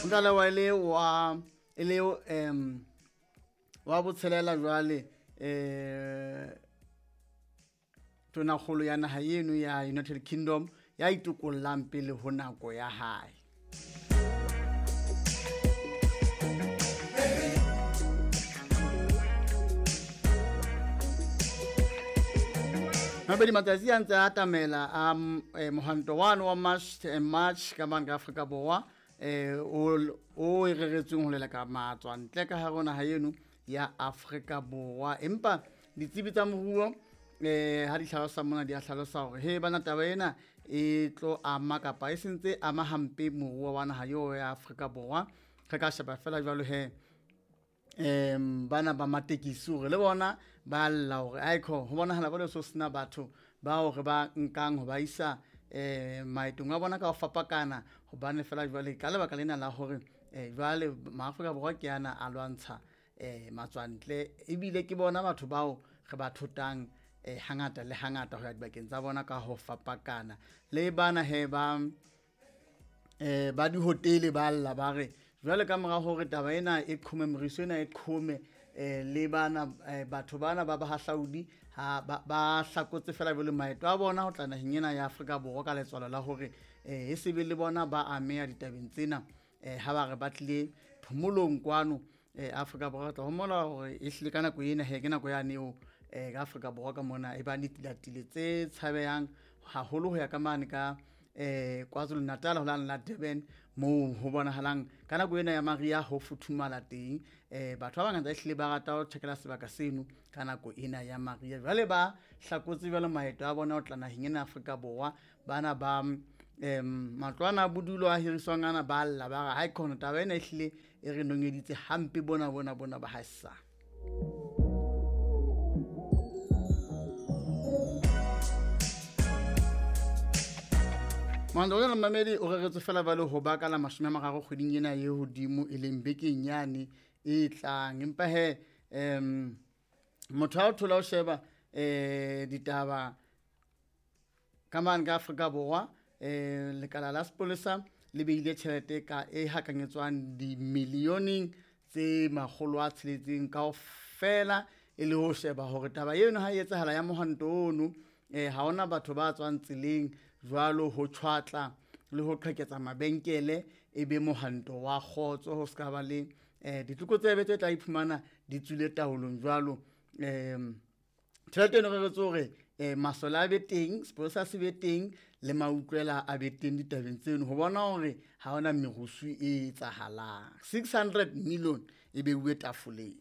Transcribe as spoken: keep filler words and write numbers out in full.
Tlalewa e le wa e le um wa botshelela jwale eh tonakgolo ya naha eno ya United Kingdom ya itokollang pele ho nako ya hae. Mabedi matsatsi a ntse a atamela a mohwanto wane wa March and March ka mane ka Afrika Borwa eh o o e reretsweng ho leleka matswantle ka hare ho naha eno ya Afrika Borwa. Empa ditsebi tsa moruo eh ha di hlalosa mona di a hlalosa hore he bana taba ena e tlo ama kapa e sentse ama hampe moruo wa naha eo ya Afrika Borwa. Re ka sheba fela jwalo he em bana ba matekisi hore le bona ba lla hore aikho ho bonahala ba le so sena batho ba hore ba nkang ho ba isa eh maetong a bona ka ho fapakana, hobane fela jwale ka lebaka lena la hore eh jwale maAfrika Borwa ke ana a lwantsha eh matswantle, ebile ke bona batho bao re ba thotang eh hangata le hangata ho ya dibakeng tsa bona ka ho fapakana. Le bana he ba eh ba dihotele ba lla ba re jwale ka mora hore taba ena e qhome, moriso ena e qhome eh le bana batho bana ba bahahlaudi ha ba hlakotse fela jwale maeto a bona ho tla naheng ena ya Afrika Borwa ka letswalo la hore eh e sebe le bona ba ameha ditabeng tsena eh ha ba re ba tlile phomolong kwano eh Afrika Borwa. Tla homola hore e hlile ka nako ena he ke nako yane eo eh ka Afrika Borwa ka mona e ba netilatile tse tshabehang haholo ho ya ka mane ka eh KwaZulu Natal ho la la Durban moo ho bonahalang ka nako ena ya mariha ho futhumala teng. Eh batho ba bangata ehlile ba rata ho tjhekela sebaka seno ka nako ena ya mariha. Jwale ba hlakotse jwale maeto a bona ho tla naheng ena Afrika Borwa. Bana ba em matlwana a bodulo a hiriswang ana ba lla ba re ha ikhona taba ena ehlile e re nonyeditse hampe bona bona bona ba haesa. Mandolana mamedi o reretswe fela ba le ho baka la mashome a mararo kgweding ena e hodimo e leng bekeng yane e tlang. Empa he em motho ha o thola o sheba eh ditaba ka mane ka Afrika Borwa eh lekala la sepolesa le beile tjhelete ka e hakanyetswang dimilioneng tse makgolo a tsheletseng kaofela e le ho sheba hore taba eno ha e etsahala ya mohwanto ono eh ha hona batho ba tswang tseleng jwalo ho tshwatla le ho qheketsa mabenkele e be mohwanto wa kgotso, ho ska ba le eh ditlokotsebe tse tla iphumana di tswile taolong jwalo. Em tjhelete eno re retse hore eh masole a be teng, sepolesa se be teng le mautlwela a be teng ditabeng tseno ho bona hore ha hona merusu e etsahalang. six hundred million e beuwe tafoleng.